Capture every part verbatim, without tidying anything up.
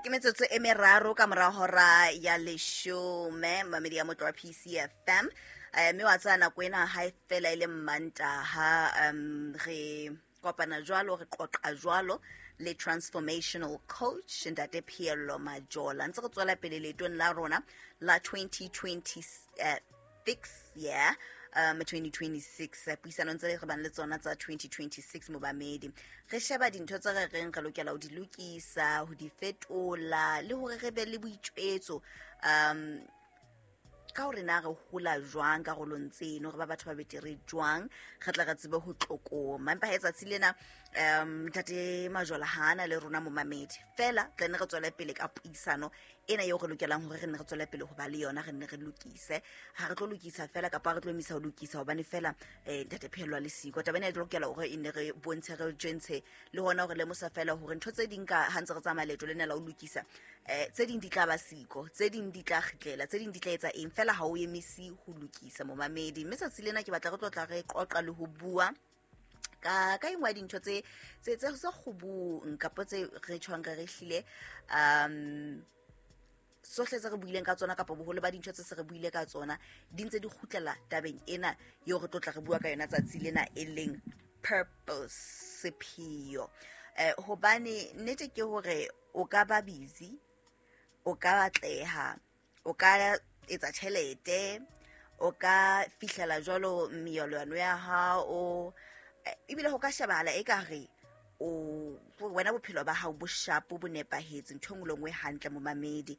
Ke metsotso e meraro ka mora hora ya leshome, mamedi ya motlo wa P C F M. Eh, mme wa tsaya nako ena ha e fela e le Mmantaha, um re kopana jwalo, re qoqa jwalo le transformational coach Ntate Pheello Majola. Ntse re tswela pele leetong la rona la twenty twenty-six, yeah, um twenty twenty-six. Puisanong tse re bang le tsona tsa twenty twenty-six mobamedi, re sheba dintho tse re reng re lokela ho di lokisa, ho di fetola, le hore re be le boitjwetso um ka hore na re hola jwang karolong tseno, re ba batho ba betere jwang, re tla re tsebe ho tlokoma. Empa ha tsatsi lena um Ntate Majola ha ana le rona momamedi, fela tla nne re tswele pele ka puisano ena eo re lokelang hore re nne re tswele pele ho ba le yona, re nne re lokise. Ha re tlo lokisa fela kapa re tlo emisa ho lokisa hobane fela eh Ntate Pheello le siko. Taba ena e lokela hore e nne re bontshe, re tjentshe le hona hore lemosa fela hore ntho tse ding ka ha ntse re tsamaya leeto lena la ho lokisa, eh tse ding di tla ba siko, tse ding di tla kgitlela, tse ding di tla etsa eng, fela ha o emisi ho lokisa momamedi. Mme tsatsi lena ke batla re tlo tla re qoqa le ho bua ka ka engwe ya dintho tse tse tse tse kgubung kapa tse re tjhong re re hlile um sohle tse re buileng ka tsona kapa boholo ba dintho tse se re buile ka tsona di ntse di kgutlela tabeng ena eo re tlo tla re bua ka yona tsatsi lena, e leng purpose, sepheo. Eh hobane nnete ke hore o ka ba busy, o ka batleha, o ka etsa tjhelete, o ka fihlela jwalo meyolwane ya hao, ebile ho ka shebahala ekare o wena bophelo ba hao bo shapo, bo nepahetse, ntho e nngwe le nngwe hantle momamedi.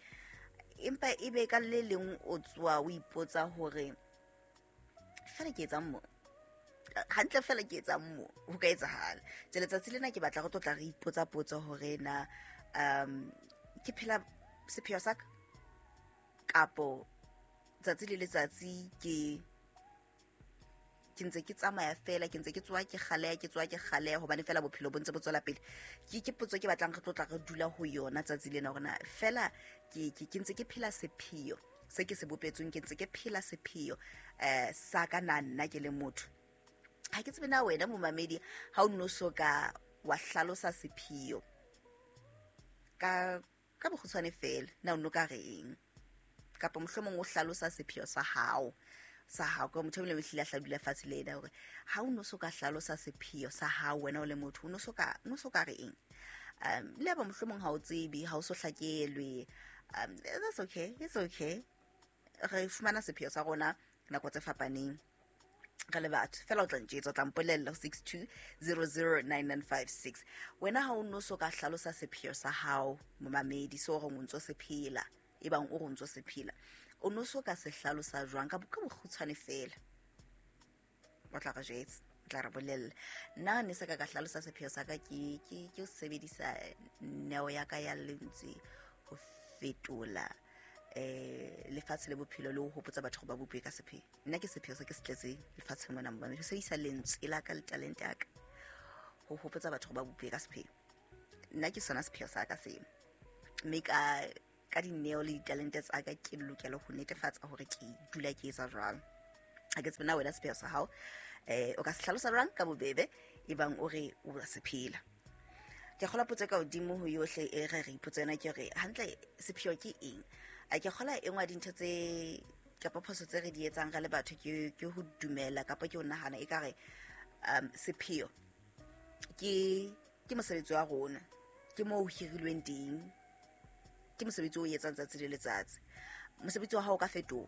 Empa ebe ka le leng o tswa o ipotsa hore fela ke etsang mo, hantle fela ke etsang mo, ho ka etsahala. Jwale tsatsi lena ke batla re tlo tla re ipotsa potso hore na um ke phela sepheo sa ka kapo tsatsi le letsatsi ke ke ntse ke tsamaya fela, ke ntse ke tswa ke kgaleha, ke tswa ke kgaleha hobane fela bophelo bo ntse bo tswela pele. Ke ke potso ke batlang re tlo tla re dula ho yona tsatsi lena hore na fela ke ke ke ntse ke phela sepheo se ke se bopetsweng, ke ntse ke phela sepheo eh sa ka na nna ke le motho. Ha ke tsebe na wena momamedi ha o no so ka wa hlalosa sepheo ka ka bokgutshwane fela, na o no ka reng, kapa mohlomong o hlalosa sepheo sa hao sa hao ka motho e mong le hlile a hla dula fatshe le yena hore ha o no so ka hlalosa sepheo sa hao wena o le motho, o no so ka, o no so ka re eng. Um le ba mohlomong ha o tsebe, ha o so hlakelwe, um that's okay, it's okay. Re fumana sepheo sa rona nako tse fapaneng re le batho fela. O tla ntjetsa, o tla mpolella ho six two zero zero nine nine five six. Wena ha o no so ka hlalosa sepheo sa hao momamedi, so hore o ntso se phela, ebang o re o ntso se phela, o no so ka se hlalosa jwang ka ka bokgutshwane fela? O tla re jwetsa, o tla re bolella. Nna ne se ka ka hlalosa sepheo sa ka ke ke ke ho sebedisa neo ya ka ya lentswe ho fetola eh lefatshe le bophelo le ho hopotsa batho hore ba bopwe ka sepheo. Nna ke sepheo se ke se tletseng lefatsheng mona momamedi, ho sebedisa lentswe la ka le talente ya ka ho hopotsa batho hore ba bopwe ka sepheo. Nna ke sona sepheo sa ka seo, mme ka ka dineo le ditalente tsa ka ke lokela ho netefatsa hore ke dula ke etsa jwalo. Ha ke tsebe na wena sepheo sa hao eh o ka se hlalosa jwang ka bobebe ebang o re o a se phela. Ke kgola potso ka hodimo ho yohle e re re ipotsa yona ke re hantle sepheo ke eng. A ke kgola e nngwe ya dintho tse kapa phoso tse re di etsang re le batho ke ke ho dumela kapa ke ho nahana ekare um sepheo ke ke mosebetsi wa rona, ke moo ho hirilweng teng, ke mosebetsi o etsang tsatsi le letsatsi. Mosebetsi wa hao o ka fetoha,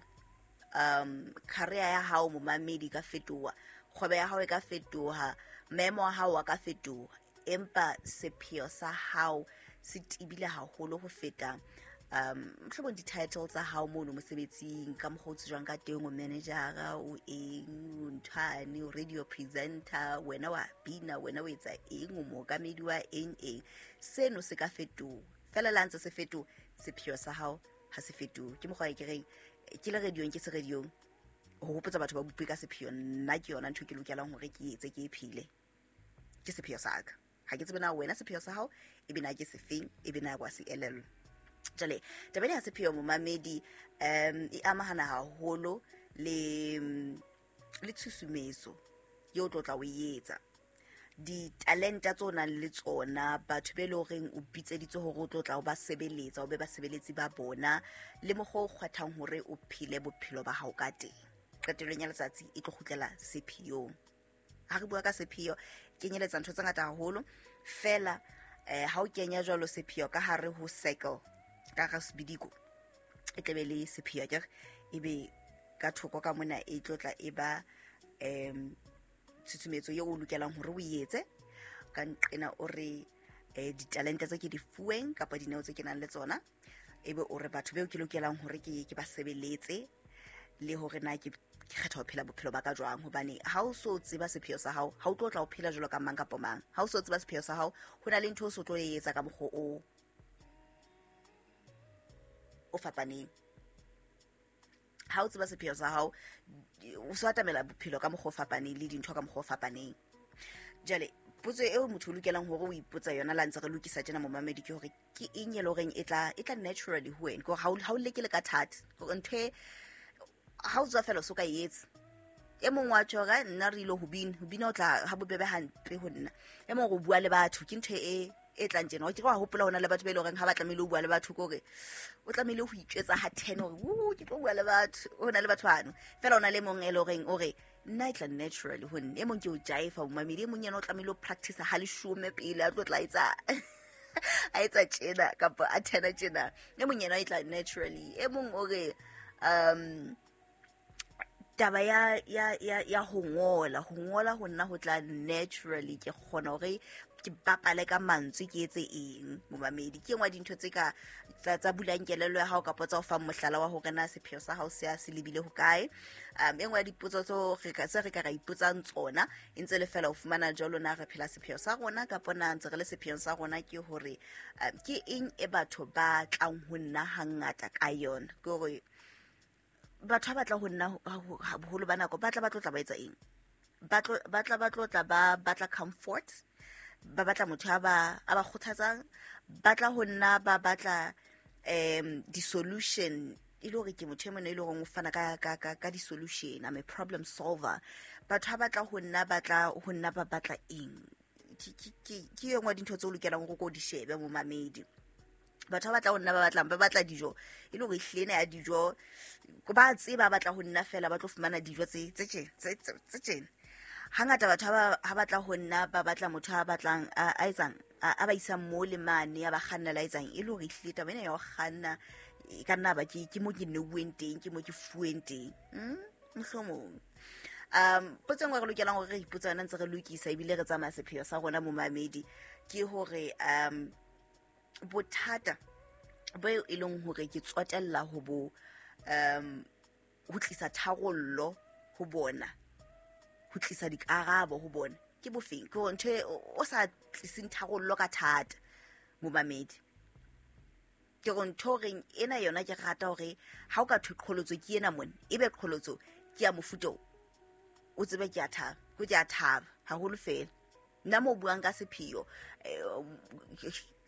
um career ya hao momamedi e ka fetoha, kgwebo ya hao e ka fetoha, maemo a hao a ka fetoha, empa sepheo sa hao se tebile haholo ho feta um mohlomong di-title tsa hao mono mosebetsing, ka mokgwa o tsejwang ka teng, o managera, o eng, o nthwane, o radio presenter, wena wa bina, wena o etsa eng, o mookamedi wa eng eng. Seno se ka fetoha fela, le ha ntse se fetoha, sepheo sa hao ha se fetohe. Ke mokgwa e ke reng ke le radiong, ke se radiong ho hopotsa batho ba bopwe ka sepheo. Nna ke yona ntho e ke lokelang hore ke etse, ke e phele, ke sepheo sa ka. Ha ke tsebe na wena sepheo sa hao e be na ke sefeng, e be na wa se elellwa. Jwale taba ena ya sepheo momamedi um e amahana haholo le le tshusumetso eo o tlo tla o etsa. Ditalenta tse o nang le tsona, batho be le horeng o bitseditse hore o tlo tla o ba sebeletsa, o be basebeletsi ba bona, le mokgwa o kgethang hore o phele bophelo ba hao ka teng. Qetellong ya letsatsi e tlo kgutlela sepheyong. Ha re bua ka sepheo, kenyeletsa ntho tse ngata haholo fela. eh ha o kenya jwalo sepheo ka hare ho circle, ka hare sebidiko, e tlabe le sepheo akere, ebe ka thoko ka mona e tlo tla e ba um tshusumetso eo o lokelang hore o etse. Ka nqena o re eh ditalente tse ke di fuweng kapa dineo tse ke nang le tsona, ebe o re batho beo ke lokelang hore ke ke ba sebeletse, le hore na ke kgetha ho phela bophelo ba ka jwang. Hobane ha o so tseba sepheo sa hao, ha o tlo tla o phela jwalo ka mang kapa mang. Ha o so tseba sepheo sa hao, ho na le ntho o so tlo e etsa ka mokgwa o o fapaneng. Ha o tseba sepheo sa hao, o so atamela bophelo ka mokgwa o fapaneng le dintho ka mokgwa o fapaneng. Jwale potso eo motho o lokelang hore o ipotsa yona la ntse re lokisa tjena momamedi ke hore ke eng e le horeng e tla e tla naturally ho wena, ke hore ha o leke le ka thata, hore ntho e ha o tswa fela o so ka e etsa. E mong wa tjho hore nna re ile ho bina, ho bina o tla ha bobebe hampe ho nna. E mong o bua le batho ke ntho e e tlang tjena. O ke wa hopola hona le batho ba ile horeng ha ba tlamehile ho bua le batho, ke hore o tlamehile ho itjwetsa ha ten hore u ke tlo bua le batho. Ho na le batho bano fela, o na le mong e le horeng o re nna e tla naturally ho nna. E mong ke o jaifa momamedi, e mong yena o tlamehile ho practice ha leshome pele a tlo tla etsa a etsa tjena kapa a tena tjena. E mong yena e tla naturally. E mong o re um taba ya ya ya ya ho ngola, ho ngola ho nna ho tla naturally, ke kgona hore ke bapale ka mantswe, ke etse eng momamedi. Ke engwe dintho tse ka tsa tsa bulang kelello ya hao kapa tsa o fang mohlala wa hore na sepheo sa hao se a se lebile ho kae. Um engwe ya dipotso tso re ka tse re ka ra ipotsang tsona e ntse le fela ho fumana jwalo na re phela sepheo sa rona kapa na ntse re le sepheong sa rona, ke hore um ke eng e batho ba tlang ho nna hangata ka yona. Ke hore batho ba batla ho nna boholo ba nako ba tla ba tlo tla ba etsa eng, ba tlo ba tla ba tlo tla ba batla comfort, ba batla motho a ba a ba kgothatsang, ba tla ho nna ba batla um di-solution, e le hore ke motho e mong e le hore o fana ka ka ka ka di-solution, I'm a problem solver. Batho ha batla ho nna ba tla ho nna ba batla eng, ke ke ke e nngwe dintho tse o lokelang hore o di shebe momamedi. Batho ba batla ho nna ba batlang ba batla dijo, e le hore ehlile ena ya dijo ba tseba ba batla ho nna fela ba tlo fumana dijo tse tse tse tse tjena. Hangata batho ba ha batla ho nna ba batla motho a batlang a etsang a ba isang mo le mane a ba kgannela etsang, e le hore ehlile taba ena ya ho kganna e ka nna ba ke ke mo ke neuweng teng, ke mo ke fuweng teng, mohlomong. Um potso e nngwe re lokelang hore re ipotsa yona ntse re lokisa ebile re tsamaya sepheo sa rona momamedi, ke hore um bothata bo e leng hore ke tsotella ho bo um ho tlisa tharollo ho bona, ho tlisa dikarabo ho bona ke bofeng, ke hore ntho o sa tliseng tharollo ka thata momamedi. Ke hore ntho reng ena yona ke rata hore ha o ka thwe qholotso ke ena mona, ebe qholotso ke ya mofuta o o tsebe ke a thaba, ke a thaba haholo fela. Nna mo buang ka sepheo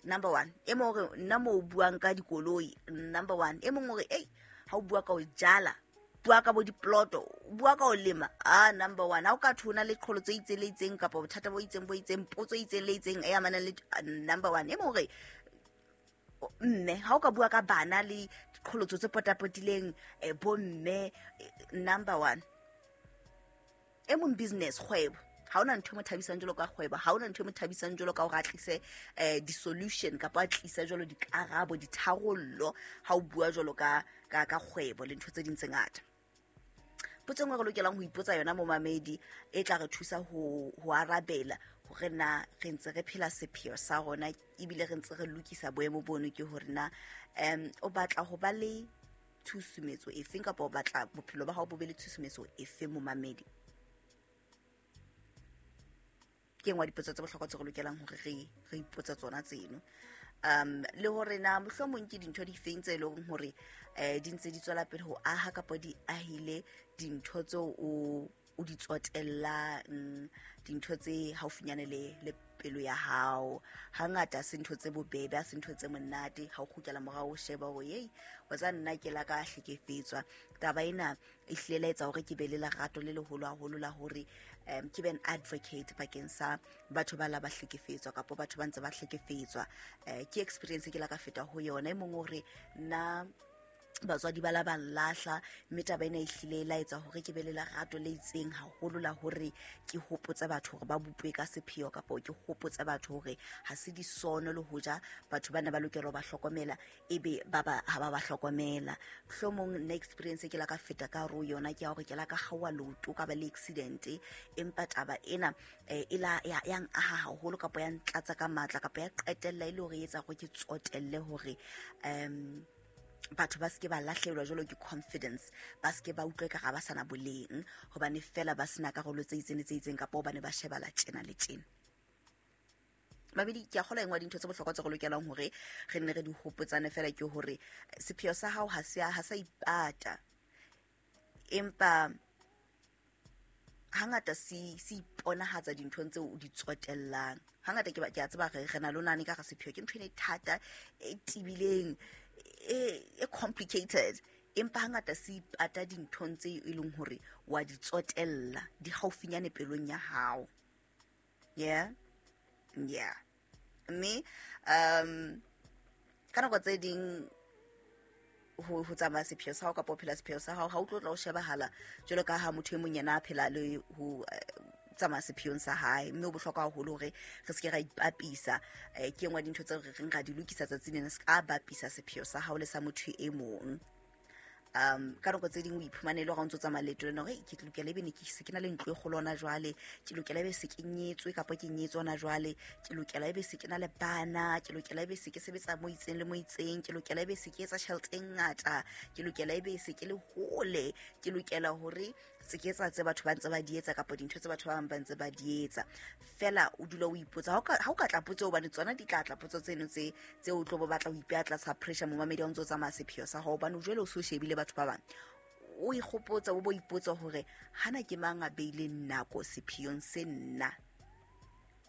number one, e mong hore nna mo buang ka dikoloi number one, e mong hore ei ha o bua ka ho jala, bua ka bo diploto, bua ka ho lema, ah number one. Ha o ka thona le qholotso e itseng le itseng kapa bothata bo itseng bo itseng, potso e itseng le itseng e amanang le number one. E mong hore mme ha o ka bua ka bana le diqholotso tse potapotileng bo mme number one. E mong business, kgwebo, ha ona ntho e mo thabisang jwalo ka kgwebo, ha ona ntho e mo thabisang jwalo ka hore a tlise eh di-solution kapa a tlise jwalo dikarabo, ditharollo ha o bua jwalo ka ka ka kgwebo le ntho tse ding tse ngata. Potso e nngwe re lokelang ho ipotsa yona momamedi e tla re thusa ho ho arabela hore na re ntse re phela sepheo sa rona ebile re ntse re lokisa boemo bono, ke hore na um o batla ho ba le tshusumetso efeng kapa o batla bophelo ba hao bo be le tshusumetso efeng momamedi. Ke engwe dipotso tse bohlokwa tse re lokelang hore re re ipotse tsona tseno. Um le hore na mohlomong ke dintho difeng tse leng hore eh di ntse di tswela pele ho aha kapa di ahile dintho tseo o o di tsotellang, dintho tse haufinyane le le pelo ya hao. Hangata se ntho tse bobebe, ha se ntho tse monate ha o kgutlela morao o sheba hore ei wa tsa nna ke la ka hlekefetswa. Taba ena e hlile la etsa hore ke be le lerato le leholo haholo la hore um ke be an advocate bakeng sa batho ba la ba hlekefetswa kapa batho ba ntse ba hlekefetswa. Eh, ke experience ke la ka feta ho yona. E mong o re nna batswadi ba la ba lahla, mme taba ena e hlile e laetsa hore ke be le lerato le itseng haholo la hore ke hopotse batho hore ba bopwe ka sepheo, kapa ke hopotse batho hore ha se disono le hoja batho bana ba lokela ho ba hlokomela, ebe ba ba ha ba ba hlokomela. Mohlomong nna experience ke la ka feta ka hare ho yona ke ya hore ke la ka kgaoha leoto, ka ba le accident, empa taba ena eh, e la ya ya aha haholo kapa ya ntlatsa ka matla kapa ya qetella e le hore e etsa hore ke tsotelle hore um batho ba seke ba lahlehelwa jwalo ke confidence, ba seke ba utlwe ka ga ba sana boleng hobane fela ba sena karolo tse itseng le tse itseng, kapa hobane ba shebala tjena le tjena. Mabedi, ke a kgolwa e nngwe ya dintho tse bohlokwa tse re lokelang hore re nne re di hopotsane fela ke hore sepheo sa hao ha se a, ha sa ipata, empa hangata se se iponahatsa dinthong tseo o di tsotellang. Hangata ke ba ke a tseba re re na le ho nahana ekare sepheo ke ntho e thata, e tebileng, e e complicated, empa hangata se ipata dinthong tse e leng hore wa di tsotella, di haufinyane pelong ya hao. Yeah, yeah. Mme um ka nako tse ding ho ho tsamaya sepheo sa hao kapa ho phela sepheo sa hao, ha o tlo tla o shebahala jwalo ka ha motho e mong yena a phela le ho tsamaya sepheong sa hae. Mme ho bohlokwa haholo hore re se ke ra ipapisa. Eh, ke e nngwe ya dintho tseo re reng ra di lokisa tsatsi lena, se ka bapisa sepheo sa hao le sa motho e mong. Um ka nako tse ding o iphumane e le hore ha o ntso tsamaya leeto lena hore ke lokela ebe ne ke se ke na le ntlo e kgolo hona jwale, ke lokela ebe se ke nyetswe kapa ke nyetswe hona jwale, ke lokela ebe se ke na le bana, ke lokela ebe se ke sebetsa mo itseng le mo itseng, ke lokela ebe se ke etsa tjhelete e ngata, ke lokela ebe se ke le hole, ke lokela hore se ke etsa tse batho ba ntse ba di etsa kapa dintho tse batho ba bang ba ntse ba di etsa. Fela o dula o ipotsa, ha o ka, ha o ka tla potso hobane tsona di tla tla potso tseno tse, tse o tlo bo batla ho ipeha tlasa pressure momamedi ha o ntso tsamaya sepheo sa hao, hobane jwale o so shebile batho ba bang. O ikgopotsa, o bo ipotsa hore hana ke mang a beileng nako sepheong se nna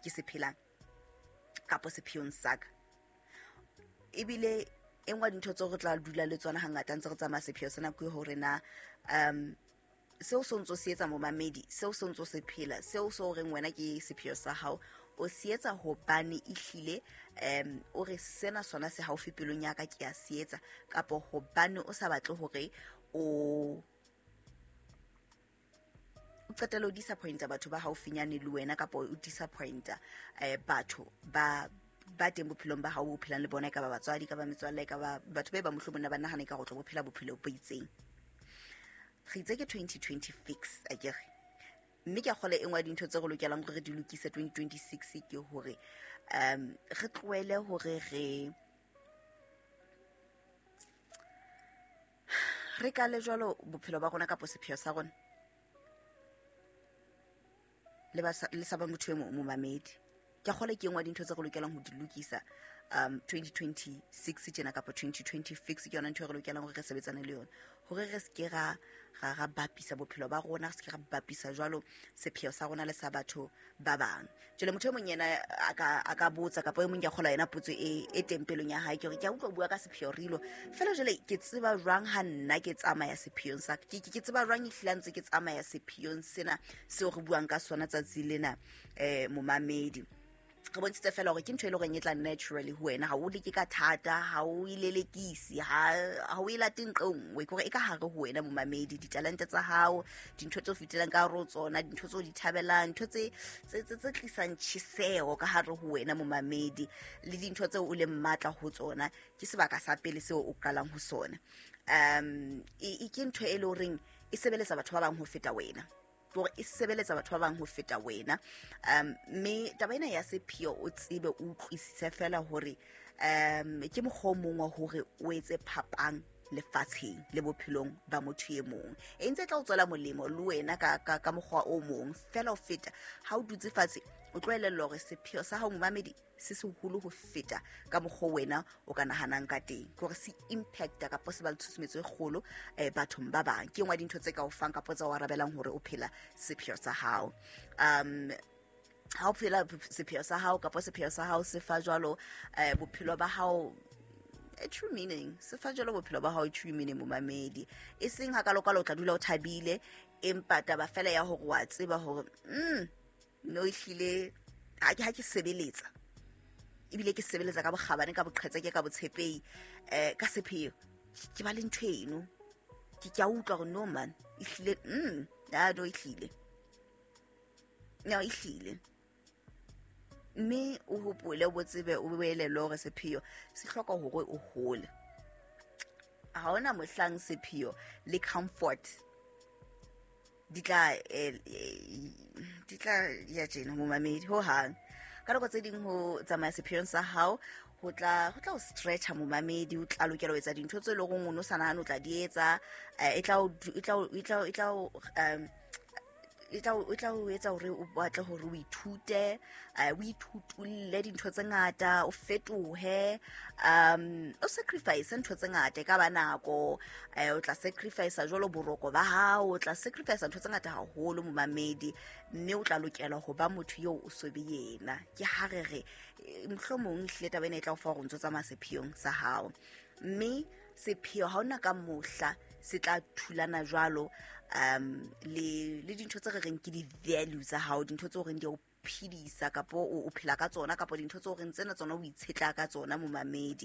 ke se phelang kapa sepheong sa ka. Ebile e nngwe ya dintho tseo re tla dula le tsona hangata ntse re tsamaya sepheo sena ke hore na um seo se ntso se etsa momamedi, seo se ntso se phela, seo se o reng wena ke sepheo sa hao, o se etsa hobane ehlile um o re sena sona se haufi pelong ya ka ke a se etsa, kapa hobane o sa batle hore o o qetelle o disappointa batho ba haufinyane le wena, kapa o disappointa eh, batho ba ba teng bophelong ba hao bo phelang le bona, e ka ba batswadi, e ka ba metswalle, e ka ba batho ba ba mohlomong ba nahana ka go tlo bo phela bophelo bo itseng. Re itse ke twenty twenty fix akere, mme ke a kgolwa e nngwe ya dintho tse re lokelang hore re di lokise twenty twenty-six ke hore um re tlohele hore re re kale jwalo bophelo ba rona kapa sepheo sa rona le ba sa, le sa ba motho e mong momamedi. Ke a kgolwa ke e nngwe ya dintho tse re lokelang ho di lokisa um twenty twenty-six tjena kapa twenty twenty fix, ke yona ntho e re lokelang hore re sebetsane le yona, hore re se ke ra, ra, ra bapisa bophelo ba rona, re se ke ra bapisa jwalo sepheo sa rona le sa batho ba bang. Jwale motho e mong yena a ka, a ka botsa, kapa e mong ke a kgolwa yena potso e, e teng pelong ya hae, ke hore ke a utlwa o bua ka sepheo Rilo, fela jwale ke tseba jwang ha nna ke tsamaya sepheong sa ka? Ke, ke, ke tseba jwang ehlile ha ntse ke tsamaya sepheong sena seo re buang ka sona tsatsi lena, eh, momamedi? Re bontshitse fela hore ke ntho e leng hore e tla naturally ho wena, ha o leke ka thata, ha o e lelekise, ha, ha o e late nqe nngwe, ke hore e ka hare ho wena momamedi, ditalente tsa hao, dintho tse o fetelang ka hare ho tsona, dintho tse o di thabelang, ntho tse, tse, tse, tse tlisang tjheseho ka hare ho wena momamedi, le dintho tseo o leng matla ho tsona, ke sebaka sa pele seo o qalang ho sona. Um, e, e ke ntho e leng horeng e sebeletsa batho ba bang ho feta wena, hore e sebeletsa batho ba bang ho feta wena. Um, mme taba ena ya sepheo o tsebe o utlwisise fela hore um ke mokgwa o mong wa hore o etse phapang lefatsheng le bophelong ba motho e mong, e ntse e tla o tswela molemo le wena ka, ka, ka mokgwa o mong fela ho feta ha o dutse fatshe o tlo elellwa hore sepheo sa hao momamedi se seholo ho feta ka mokgwa wena o ka nahanang ka teng, ke hore se impacta kapa se ba le tshusumetso e kgolo, eh, bathong ba bang. Ke e nngwe ya dintho tse ka o fang kapa tsa o arabelang hore o phela sepheo sa hao. Um, ha o phela sepheo sa hao kapa sepheo sa hao se fa jwalo, eh, bophelo ba hao a true meaning, se fa jwalo bophelo ba hao true meaning momamedi, e seng hakalokalo o tla dula o thabile, Empa taba fela ya hore wa tseba hore mm no ehlile ha ke ha ke sebeletsa ebile ke sebeletsa ka bokgabane, ka boqhetseke, ka botshepehi, eh ka sepheo, ke ba le ntho eno, ke ke a utlwa hore no man ehlile mm ya no ehlile no ehlile. Mme o hopole, o tsebe, o boelele hore sepheo se hloka hore o hole. Ha hona mohlang sepheo le comfort di tla di tla ya tjena momamedi ho hang. Ka nako tse ding ho tsamaya sepheong sa hao ho tla ho tla o stretcha momamedi, o tla lokela ho etsa dintho tse leng hore o no sa nahane o tla di etsa. E tla e tla e tla e tla um e tla o tla o etsa hore o batle hore o ithute, o ithutulle dintho tse ngata, o fetohe, um o sacrifice ntho tse ngata. E ka ba nako, o tla sacrifice jwalo boroko ba hao, o tla sacrifice ntho tse ngata haholo momamedi, mme o tla lokela ho ba motho eo o so be yena. Ke ha re re mohlomong ehlile taba ena e tla o fa hore o ntso tsamaya sepheong sa hao. Mme sepheo ha hona ka mohla se tla thulana jwalo um le le dintho tse re reng ke di-value tsa hao, dintho tse o reng di o phedisa kapo o phela ka tsona, kapo dintho tse o reng tsena tsona o itshetla ka tsona momamedi.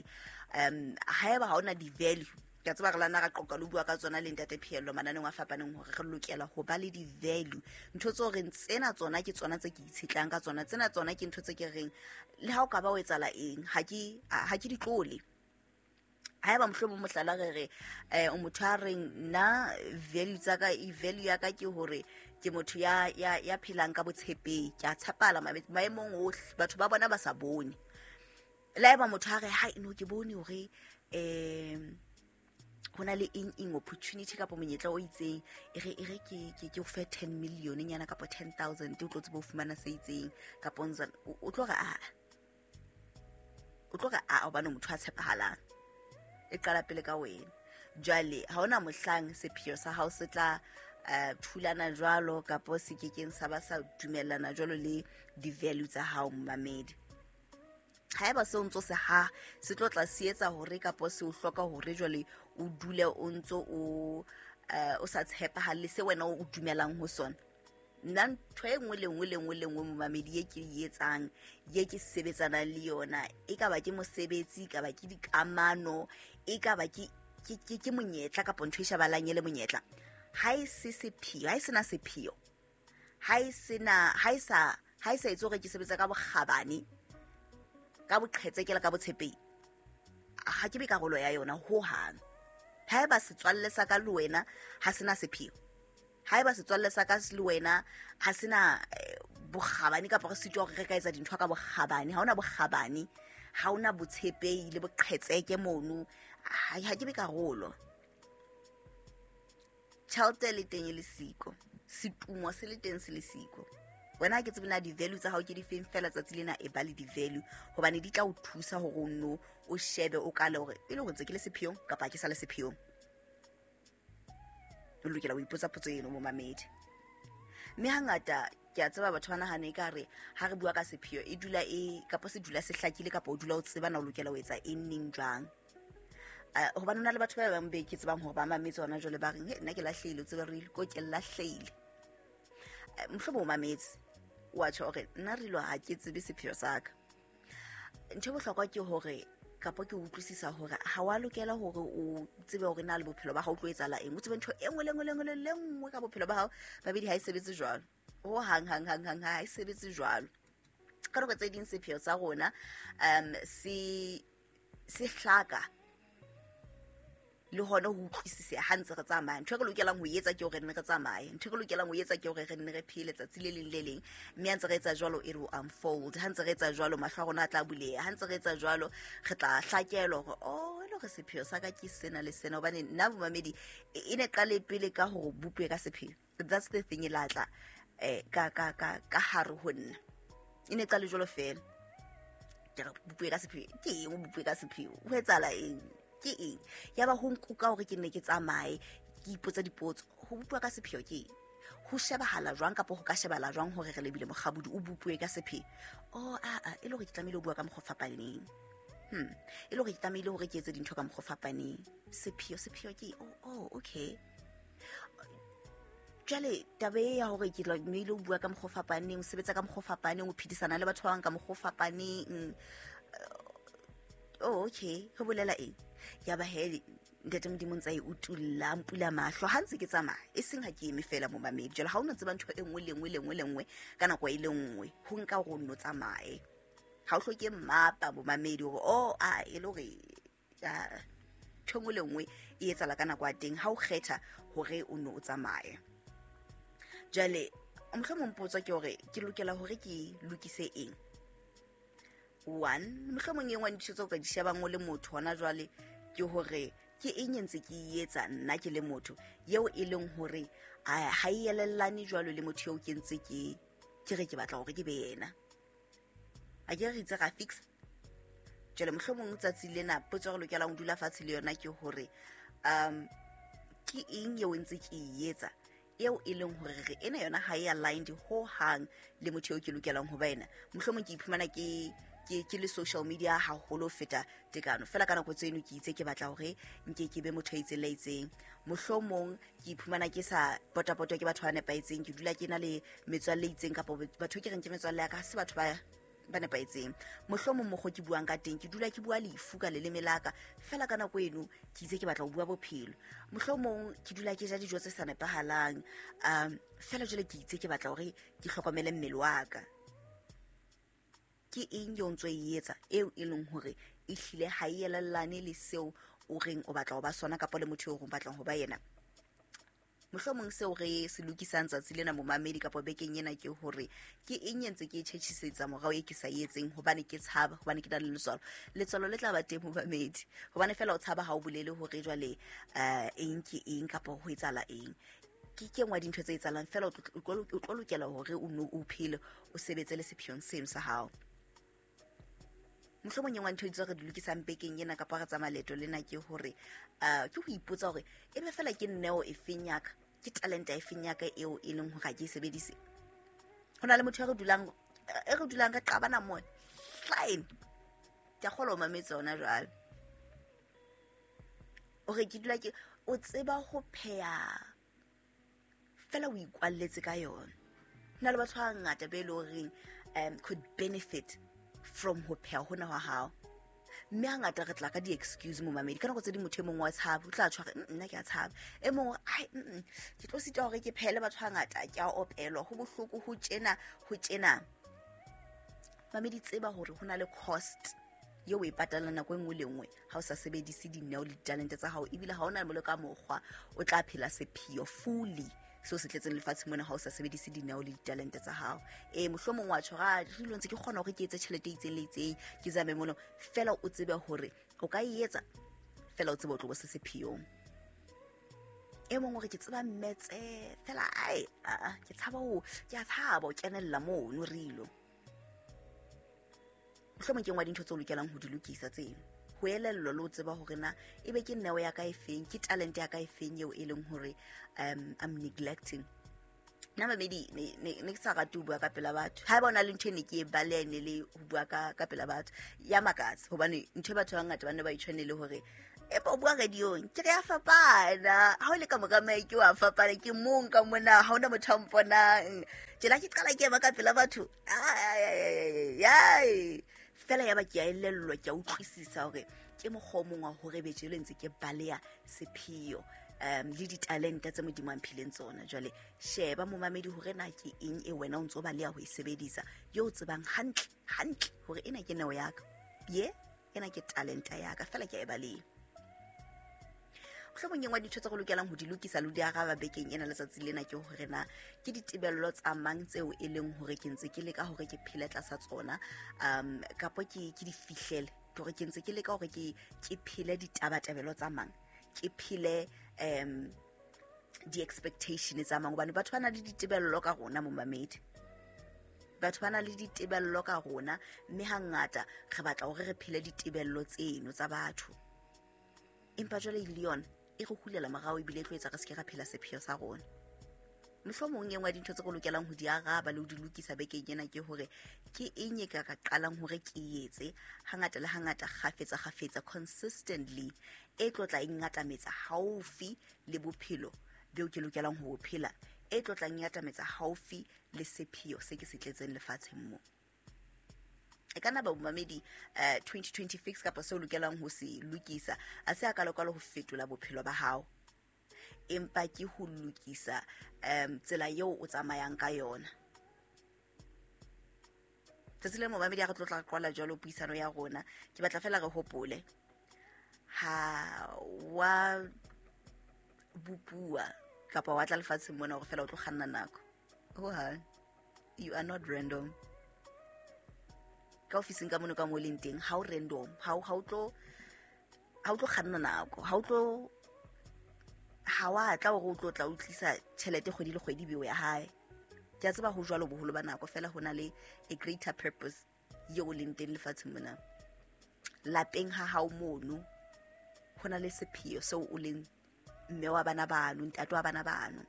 Um haeba ha ona di-value, ke a tseba re lana ra qoqa le bua ka tsona le ntate Pheello mananeng a fapaneng hore re lokela ho ba le di-value, ntho tse o reng tsena tsona ke tsona tse ke itshetlang ka tsona, tsena tsona ke ntho tse ke reng le ha o ka ba o etsahala eng ha ke ha ke di tlole. Haeba mohlomong mohlala re re eh o motho a reng nna value tsa ka, e value ya ka ke hore ke motho ya ya ya phelang ka botshepehi, ke a tshepala maemong ohle, batho ba bona ba sa bone. Le haeba motho a re hai no ke bone hore eh hona le eng eng opportunity kapa monyetla o itseng, e re e re ke ke ke o fe ten million nyana kapa ten thousand o tlo tseba ho fumana se itseng kapa ntsa o tlo re a o tlo re a hobane motho a tshepahalang. E qala pele ka wena. Jwale ha hona mohlang sepheo sa hao se tla thulana jwalo kapo se kekeng sa ba sa dumellana jwalo le di-value tsa hao momamedi. Haeba se o ntso se ha se tlo tla se etsa hore kapo se o hloka hore jwale o dule o ntso o o sa tshepahalle se wena o dumelang ho sona. Nna ntho e nngwe le nngwe le nngwe le nngwe momamedi e ke e etsang, ye ke sebetsanang le yona, e ka ba ke mosebetsi, e ka ba ke dikamano, e ka ba ke ke ke monyetla kapa ntho e shebahalang e le monyetla, ha e se sepheo, ha e sena sepheo, ha e sena ha e sa ha e sa etse hore ke sebetsa ka bokgabane, ka boqhetseke le ka botshepehi, ha ke be karolo ya yona ho hang. Haeba setswalle sa ka le wena ha sena sepheo, haeba setswalle sa ka le wena ha sena bokgabane kapa re sitwa hore re ka etsa dintho ka bokgabane, ha hona bokgabane, ha hona botshepehi le boqhetseke mono, ha ke be karolo. Tjhelete le teng e le siko, setumo se le teng se le siko. Wena ha ke tsebe na di-value tsa hao ke di feng fela tsatsi lena, e ba le di-value hobane di tla o thusa hore o nno o shebe o kale hore e le hore ntse ke le sepheong kapa ha ke sa le sepheong. O lokela ho ipotsa potso eno momamedi. Mme hangata ke a tseba batho ba nahana ekare ha re bua ka sepheo e dula e kapa se dula se hlakile kapa o dula o tseba na o lokela ho etsa eng neng jwang. Hobane hona le batho ba bang be ke tsebang hore ba mametse hona jwale ba reng nna ke lahlehile, o tsebe re ko ke lahlehile. Mohlomong o mametse wa tjho hore nna re lo ha ke tsebe sepheo sa ka. Ntho e bohlokwa ke hore kapo ke utlwisisa hore ha wa lokela hore o tsebe hore na le bophelo ba hao o tlo etsahala eng, o tsebe ntho e nngwe le nngwe le nngwe le nngwe ka bophelo ba hao. Babedi ha e sebetse jwalo ho hang hang hang hang, ha e sebetse jwalo. Ka nako tse ding sepheo sa rona um se se hlaka le hona ho utlwisisa ha ntse re tsamaya. Ntho e re lokelang ho etsa ke hore re nne re tsamaye, ntho e re lokelang ho etsa ke hore re nne re phele tsatsi le leng le leng. Mme ha ntse re etsa jwalo e re o unfold, ha ntse re etsa jwalo mahlo a rona a tla buleha, ha ntse re etsa jwalo re tla hlakelwa hore oh e le hore sepheo sa ka ke sena le sena. Hobane nna momamedi e ne qale pele ka hore bopue ka sepheo, that's the thing e latla eh ka ka ka ka hare ho nna, e ne qale jwalo fela. Ke re bopue ka sepheo ke eng, o bopue ka sepheo ho etsahala eng, ke eng? Ya ba ho nkuka hore ke nne ke tsamaye ke ipotsa dipotso, ho bopua ka sepheo ke eng, ho shebahala jwang kapa ho ka shebahala jwang hore re lebile mokgabodi o bopue ka sepheo. Oh a a e le hore ke tlamehile ho bua ka mokgwa o fapaneng, hmm e le hore ke tlamehile hore ke etse dintho ka mokgwa o fapaneng. Sepheo sepheo ke oh oh okay. Jwale taba e ya hore ke tlamehile ho bua ka mokgwa o fapaneng, o sebetsa ka mokgwa o fapaneng, o phedisana le batho ba bang ka mokgwa o fapaneng. Oh, okay, ho bolela eng? Ya ba he ntate Modimo ntse a e utulla, mpula mahlo ha ntse ke tsamaya, e seng ha ke eme fela momamedi. Jwale ha o no tseba ntho e nngwe le nngwe le nngwe le nngwe ka nako e le nngwe, ho nka hore o nno tsamaye. Ha o hloke mmapa momamedi hore oh a e le hore ntho e nngwe le nngwe e etsahala ka nako ya teng ha o kgetha hore o nno o tsamaye. Jwale mohlomong potso ke hore ke lokela hore ke lokise eng? One, mohlomong e nngwe ya dintho tseo ka di shebang o le motho hona jwale ke hore ke eng e ntse ke e etsa nna ke le motho eo e leng hore ha e elellane jwalo le motho eo ke ntse ke ke re ke batla hore ke be yena. A ke re itse ra fix. Jwale mohlomong tsatsi lena potso re lokelang ho dula fatshe le yona ke hore um ke eng eo ntse ke e etsa eo e leng hore re ena yona ha e aligned ho hang le motho eo ke lokelang ho ba yena. Mohlomong ke iphumana ke ke ke le social media haholo ho feta tekano, fela ka nako tseno ke itse ke batla hore nke ke be motho a itseng le itseng. Mohlomong ke iphumana ke sa potapotwa ke batho ba nepahetseng, ke dula ke na le metswalle e itseng kapa batho ke reng ke metswalle ya ka, ha se batho ba ba nepahetseng. Mohlomong mokgwa ke buang ka teng, ke dula ke bua lefu ka leleme la ka, fela ka nako eno ke itse ke batla ho bua bophelo. Mohlomong ke dula ke ja dijo tse sa nepahalang, um fela jwale ke itse ke batla hore ke hlokomele mmele wa ka. Ke eng eo ntso e etsa eo e leng hore e hlile ha e elellane le seo o reng o batla ho ba sona kapa le motho eo o batlang ho ba yena? Mohlomong seo re se lokisang tsatsi lena momamedi kapa bekeng ena ke hore ke eng e ntse ke e tjhetjhisetsa morao e ke sa etseng hobane ke tshaba, hobane ke na le letswalo. Letswalo le tla ba teng momamedi, hobane fela o tshaba ha o bolele hore jwale eh eng ke eng kapa ho etsahala eng. Ke ke nngwe ya dintho tse etsahalang, fela o tlo lokela hore o nno o phele o sebetse le sepheong seno sa hao. Mohlomong e nngwe ntho tseo re di lokisang bekeng ena kapa re tsamaya leeto lena ke hore uh, ke ho ipotsa hore ebe fela ke neo e feng ya ka, ke talenta e feng ya ka eo e leng hore ha ke e sebedise. Ho na le motho e re dulang e re dulang ka qabana mo line, ke a kgolwa o mametse hona jwale, hore ke dula ke o tseba ho pheha fela o ikwalletse ka yona. Ho na le batho ba bangata be e leng horeng um could benefit from ho pheha hona hwa hao, mme hangata re tla ka di-excuse momamedi. Ka nako tse ding motho e mong wa tshaba, o tla tshwara nna ke a tshaba, e mong ai ke tlo sitwa hore ke phehele batho hangata, ke a opelwa, ho bohloko, ho tjena ho tjena. Mamedi, tseba hore ho na le cost eo o e patalang nako e nngwe le nngwe ha o sa sebedise dineo le ditalente tsa hao, ebile ha o na le ka mokgwa o tla phela sepheo fully seo se tletseng lefatshe mona ha o sa sebedise dineo le ditalente tsa hao. E mohlomong wa tjho, re lo ntse ke kgona hore ke etse tjhelete e itseng le itseng, ke zame mono, fela o tsebe hore o ka e etsa, fela o tsebe o tlo bo se sepheong. E mong hore ke tseba mmetse fela, ai a ke tshaba ho ke a tshaba ho kenella mono rilo. Mohlomong ke nngwe ya dintho tseo o lokelang ho di lokisa tseno, ho elellwa le ho tseba hore na ebe ke neo ya ka e feng, ke talente ya ka e feng eo e leng hore um I'm neglecting. Nna mamedi ne ne ke sa rate ho bua ka pela batho. Haeba o na le ntho e ne ke e baleha ne le ho bua ka ka pela batho, ya makatsa hobane ntho e batho ba bangata ba ne ba itshwanele hore empa o bua radio-ong, ke re ya fapana. Ha o le ka mora mic wa fapana, ke mong ka mona, ha hona motho a mponang. Tjela ke qala ke ema ka pela batho, ai fela ya ba ke a elellwa, ke a utlwisisa hore ke mokgwa o mong wa hore be jelo ntse ke baleha sepheo um le ditalente tse Modimo a mphileng tsona. Jwale sheba momamedi hore na ke eng e wena o ntso baleha ho e sebedisa, yo o tsebang hantle hantle hore ena ke neo ya ka, ye ena ke talenta ya ka, fela ke a e baleha. Mohlomong e nngwe ya dintho tse re lokelang ho di lokisa le ho di araba bekeng ena letsatsi lena ke hore na ke ditebello tsa mang tseo e leng hore ke ntse ke leka hore ke phele tlasa tsona, um kapa ke ke di fihlele, ke hore ke ntse ke leka hore ke ke phele ditabatabelo tsa mang, ke phele um di-expectation tsa mang, hobane batho ba na le ditebello ka rona momamedi. Batho ba na le ditebello ka rona, mme hangata re batla hore re phele ditebello tseno tsa batho, empa jwale le yona e re hulela morao ebile e tlo etsa re se ke ra phela sepheo sa rona. Mohlomong e nngwe ya dintho tse re lokelang ho di araba le ho di lokisa bekeng ena ke hore ke eng e ka ka qalang hore ke etse hangata le hangata, kgafetsa kgafetsa, consistently, e tlo tla e ngatametsa haufi le bophelo beo ke lokelang ho bo phela, e tlo tlang ya atametsa haufi le sepheo se ke se tletseng lefatsheng mo. E ka nna ba momamedi uh, twenty twenty fix kapa seo lokelang ho se lokisa a se a kalokalo ho fetola bophelo ba hao, empa ke ho lokisa um tsela eo o tsamayang ka yona. Tsatsi le momamedi a re tlo tla qala jwalo puisano ya rona, ke batla fela re hopole ha wa bupua kapa wa tla lefatsheng mona hore fela o tlo kganna nako. Ho ha you are not random. Ka ofising ka mono ka mo leng teng ha o random, ha o ha o tlo ha o tlo kganna nako, ha o tlo ha wa tla hore o tlo tla o tlisa tjhelete kgwedi le kgwedi beo ya hae. Ke a tseba ho jwalo boholo ba nako, fela ho na le a greater purpose eo leng teng lefatsheng mona. Lapeng ha hao mono ho na le sepheo seo o leng mme wa bana bano, ntate wa bana bano.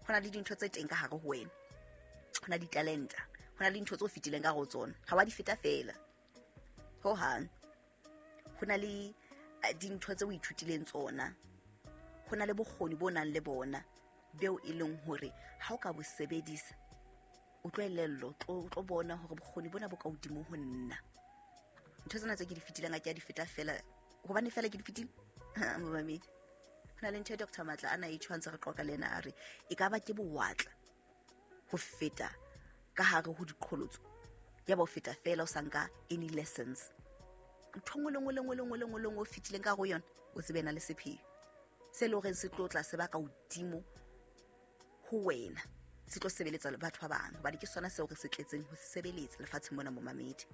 Ho na le dintho tse teng ka hare ho wena, ho na ditalenta, ho na le dintho tse o fetileng ka hare ho tsona, ha wa di feta fela hohang. Ho na le dintho tse o ithutileng tsona, ho na le bokgoni bo nang le bona beo e leng hore ha o ka bo sebedisa o tlo elellwa, o tlo bona hore bokgoni bona bo ka hodimo ho nna. Ntho tsena tse ke di fetileng ha ke a di feta fela hobane fela ke di fetile. Momamedi, ho na le ntho e Doctor Matla a na e tshwantse re qoqa le yena, a re e ka ba ke bowatla ho feta ka hare ho diqholotso, ya ba o feta fela o sa nka any lessons. Ntho nngwe le nngwe le nngwe le nngwe le nngwe le nngwe o fetileng ka hare ho yona, o tsebe na le sepheo se le horeng se tlo tla se ba ka hodimo ho wena, se tlo sebeletsa le batho ba bang, hobane ke sona seo re se tletseng ho sebeletsa lefatsheng mona momamedi.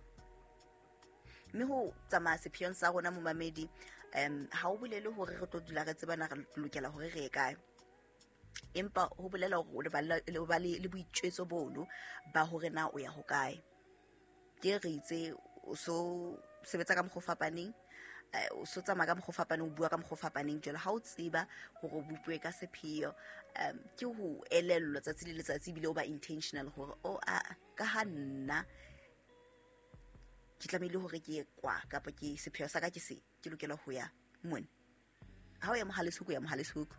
Mme ho tsamaya sepheong sa rona momamedi, um ha o bolele hore re tlo dula re tsebana re lokela hore re ye kae, empa ho bolela hore o ba le boitjwetso bono ba hore na o ya hokae. Ke re itse o so sebetsa ka mokgwa o fapaneng, o so tsamaya ka mokgwa o fapaneng, o bua ka mokgwa o fapaneng. Jwale ha o tseba hore o bopuwe ka sepheo, um ke ho elellwa tsatsi le letsatsi, ebile o ba intentional hore o a ka ha nna ke tlamehile hore ke ye kwa, kapa ke sepheo sa ka ke se, ke lokela ho ya mona. Ha o ya Mohale's Hoek, o ya Mohale's Hoek,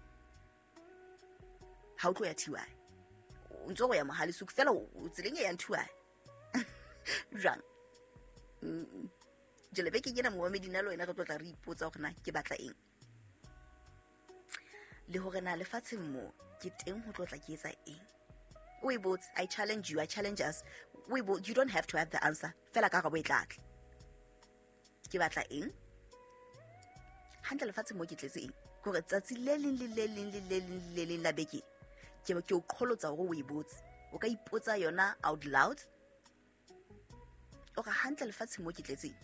ha o tlo ya T Y, o ntso o ya Mohale's Hoek fela, o tseleng e yang T Y jwang. Jwale bekeng ena momamedi nna le wena re tlo tla re ipotsa hore na ke batla eng, le hore na lefatsheng mo ke teng ho tlo tla ke etsa eng. O e botse, I challenge you, I challenge us. O e you don't have to have the answer, fela ka karabo e tla tla. Ke batla eng hantle lefatsheng mo ke tletse eng? Kore tsatsi le leng le le leng le le leng le leng la beke ke ke o qholotsa hore o e botse. O ka ipotsa yona out loud, o re hantle lefatsheng mo ke tletse eng?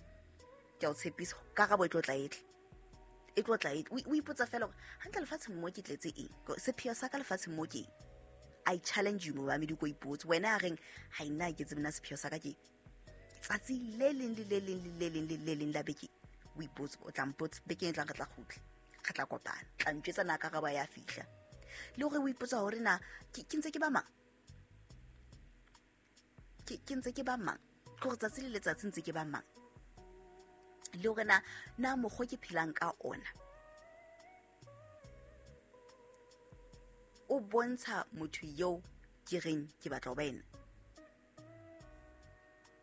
Ke a o tshepisa, karabo e tlo tla e tla, e tlo tla e tla. O ipotsa fela hore hantle lefatsheng mo ke tletse eng, sepheo sa ka lefatsheng mo ke eng. I challenge you momamedi, ko ipotse wena a reng ha nna ke tsebe na sepheo sa ka ke tsatsi le leng le le leng le le leng le le leng la beke. O ipotse, o tla mpotsa bekeng e tlang, re tla kgutla, re tla kopana, tla ntjwetsa na karabo ya fihla. Le hore o ipotsa hore na ke ntse ke ba mang, ke ke ntse ke ba mang, ke hore tsatsi le letsatsi ntse ke ba mang, le hore na na mokgwa ke phelang ka ona o bontsha motho eo ke reng ke batla ho ba ena.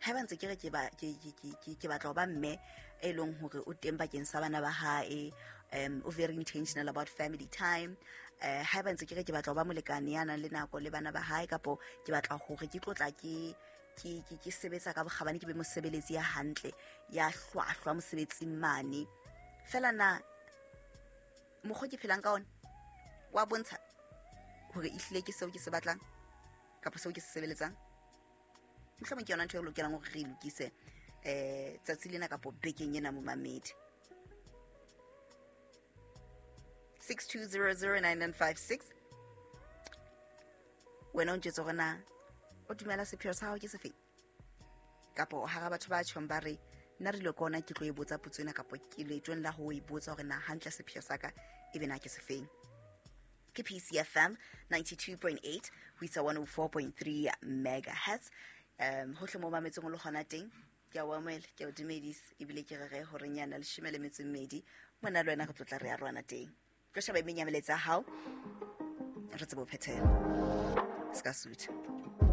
Haeba ntse ke re ke ba ke ke ke ke batla ho ba mme e leng hore o teng bakeng sa bana ba hae, um o very intentional about family time. Eh haeba ntse ke re ke batla ho ba molekane ya nang le nako le bana ba hae, kapo ke batla hore ke tlotla ke ke ke ke sebetsa ka bokgabane, ke be mosebeletsi ya hantle, ya hlwahlwa mosebetsing mane. Fela na mokgwa ke phelang ka ona wa bontsha hore ehlile ke seo ke se batlang kapa seo ke se sebeletsang? Mohlomong ke yona ntho e lokelang hore re e lokise eh tsatsi lena kapo bekeng ena momamedi. six two zero zero nine nine five six. Wena o ntjwetse hore na o dumela sepheo sa hao ke sefeng, kapo hara batho ba tjhong ba re nna re ile ka ona ke tlo e botsa potso ena, kapo ke leetong la ho e botsa hore na hantle sepheo sa ka e be na ke sefeng. Ke P C F M ninety-two point eight ho isa one oh four point three megahertz. Um hohle mo mametseng o le hona teng, ke a o amohela, ke a o dumedisa, ebile ke re re hore nyana leshome le metso e mmedi mona le wena re tlo tla re arohana teng. Tlo sheba e meng ya melaetsa ya hao, re tsebe ho phethela. Se ka sutha.